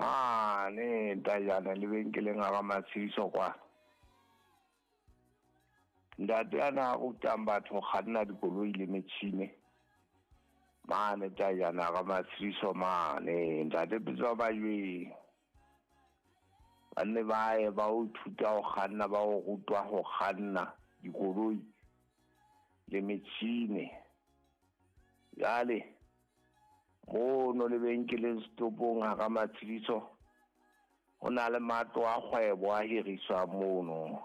Mane Tajana lebenkeleng a ga Matshediso kwa. Ntate a na rutang batho ho kganna dikoloi le metjhine. Mane Tajana ga Matshediso mane ntate Pitso Majweng. Ba nne ba ye ba o ithuta ho kganna, ba o rutwa ho kganna dikoloi le metjhine. Jwale mono lebenkeleng setopong hara Matshediso ho na le matlo a kgwebo a hiriswang mono.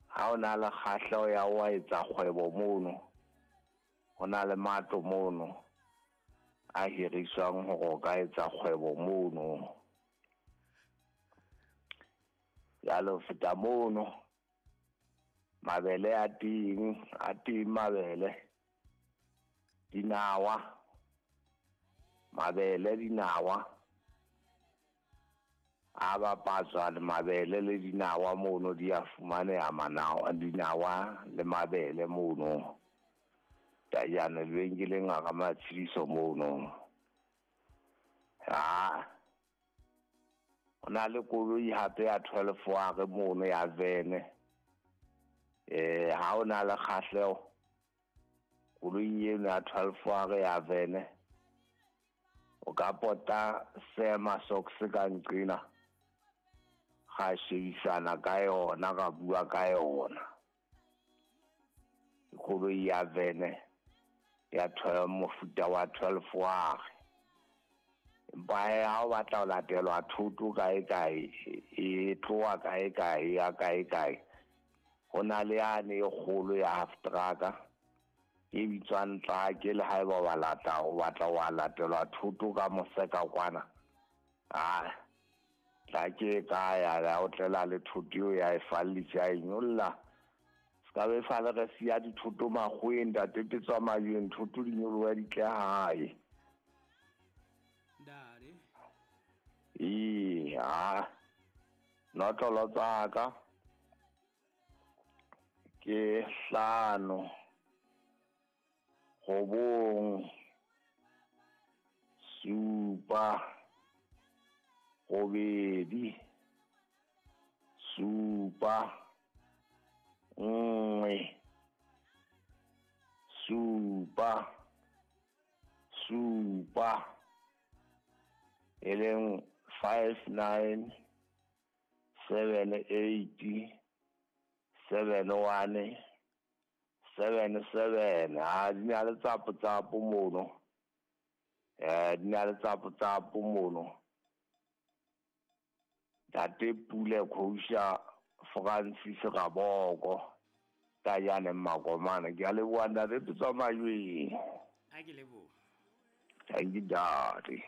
Ha o na le kgahleho ya ho etsa kgwebo mono, ho na le matlo mono a hiriswang hore o ka etsa kgwebo mono. Jwale ho feta mono, mabele a teng mabele, dinawa, mabele, dinawa a bapatswa le mabele le dinawa mono di a fumaneha, manawa, dinawa le mabele mono. Tajana lebenkeleng a ga Matshediso mono. Ha ho na le koloi hape ya 12 ware mono ya vene. Ha o na le kgahleho koloi eno ya 12 ware ya vene, o ka pota sema socks ka nqena, ga shebisana ka yona, ga bua ka yona. Koloi ya vene ya 12, mofuta wa 12 ware. Empa ha o batla ho latelwa thoto kae kae, e tloha kae kae, ya kae kae, ho na le yane e kgolo ya half truck e bitswang tlake, le haeba o batla o batla wa latelwa thoto ka moseka kwana, a tlake e ka ya o tlela le thoto eo ya e fallisa, ya e nyolla. Se ka be sale re siya dithoto makgoweng, ntate Petswa Majweng, thoto di nyoloha di tle hae. Ntate. Ee, ha notlolo tsa ka ke 5, 9, 7, 8, 7, 1, 7, 7, e leng 5, 9, 7, 8, 7, 1, 7, 7. Ha di na le tsapo tsapo mono. Di na le tsapo tsapo mono. Ntate Pule Khousha Francis Raboko Tajane Makomane. Ke a leboha ntate Petswa Majweng. A ke leboha. Thank you, Daddy.